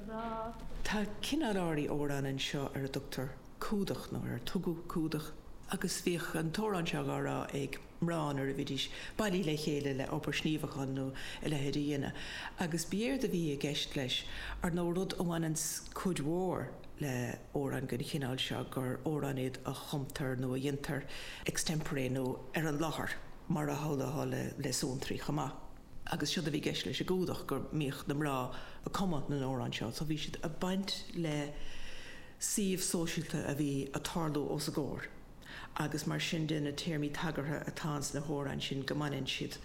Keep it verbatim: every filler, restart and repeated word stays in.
rá. Tá cineál áirithe amhrán anseo ar a dtugtar cumhdach nó ar tugadh cumhdach agus bhíodh an t-amhrán seo á rá ag mná nuair a bhídís bailithe le chéile le obair sníomhacháin nó a leithéid a dhéanamh. Agus b'éard a bhí i gceist leis ar nó rud a bhaineann cuid mhór le hamhráin den chineál seo gur amhráin iad a chumtar nó a dhéantar extempore nó ar an láthair mar a tharlaíonn le le suantraí chomh maith. Agus siod a bhí i gceist leis an gcumhdach go mbíodh na mná ag cumadh na n-amhrán seo, so bhí siad ag baint le suíomh sóisialta a bhí ag tarlú os a gcomhair. agus mar sin de na téarmaí tagartha atá sna hamhráin sin go mbaineann siad